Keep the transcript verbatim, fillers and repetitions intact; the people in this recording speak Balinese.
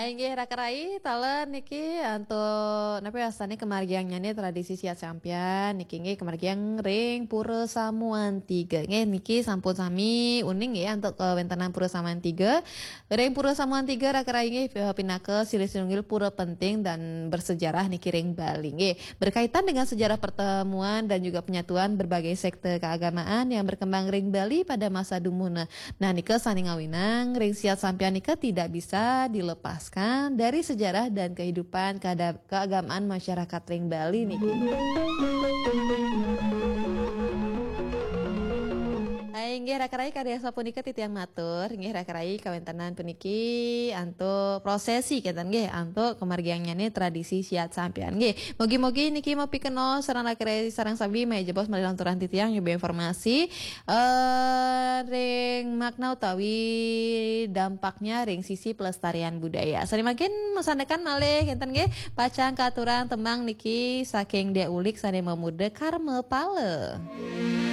Inggih raka rai, taler niki antuk napa wastane kemargiang nyane tradisi siat sampian niki inggih kemargiang ring Pura Samuan Tiga. Nggih niki sampun sami uning nggih antuk kawentenan Pura Samuan Tiga. Ring Pura Samuan Tiga raka rai inggih pinaka silih sinunggil pura penting dan bersejarah niki ring Bali nggih. Berkaitan dengan sejarah pertemuan dan juga penyatuan berbagai sekte keagamaan yang berkembang ring Bali pada masa dumuhna. Nah, nika sane ngawinang ring siat sampian nika tidak bisa dilepaskan dari sejarah dan kehidupan keada- keagamaan masyarakat ring Bali niki. Hai, inggih raka rai kadi asapunika titiang matur, inggih raka rai kawentenan puniki antuk prosesi kenten nggih, antuk kemargiang nyane tradisi siat sampian nggih. Mugi-mugi niki mapikenoh sareng raka rai sareng sami maya jebos malih lanturan titiang nyubi informasi eh ring makna utawi dampaknya ring sisi pelestarian budaya. Sane mangkin masandekan malih kenten nggih, pacang katurang tembang niki saking Dia Ulik sane mamuda Karma Pala.